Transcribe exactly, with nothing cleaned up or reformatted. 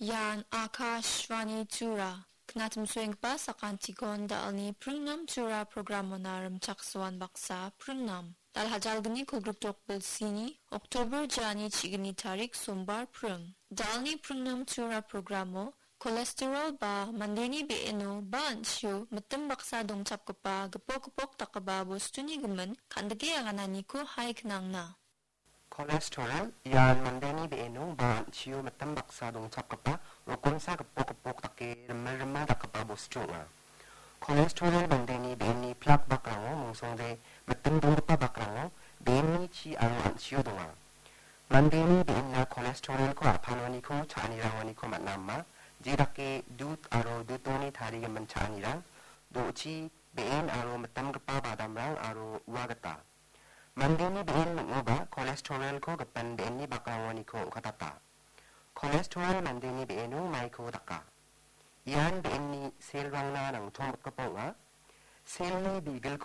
Ian Akashvani Tura. Knatim soenggipa sakantikon da·alni pringnam Tura programona rimchaksoan baksa pringnam. Dal hajalgni kolgrikdok bilsini, Oktober jani chigni tarik sombar pring. Da·alni pringnam Tura programo cholesterol ba mandeni be·eno ba an·chio mitim baksa dongchapgipa gipok gipok dakgipa bostuni gimin kan·dike agananiko hai knangna. Cholesterol ian mandeni be·eno ba an·chio mitim baksa dongchapgipa rokomsa gipok gipok dake rimil rimil dakgipa bostu ong·a. Cholesterol mandeni be·enni plak bakrango mongsongde mitim donggipa bakrango be·enni chi aro an·chio donga. Mandeni be·enna cholesterolko a·panoniko cha·anirangoniko man·a ama, jedake dud aro dudoni tarigimin cha·anirang, do·chi, be·en aro mitamgipa badamrang aro ua gita. Mandeni be·en ning·oba cholesterolko gipin be·enni bakrangoniko ong·katata. Cholesterol mandeni be·eno maiko daka. Ian be·enni selrangna nangtonggipa ong·a. Selni bigilko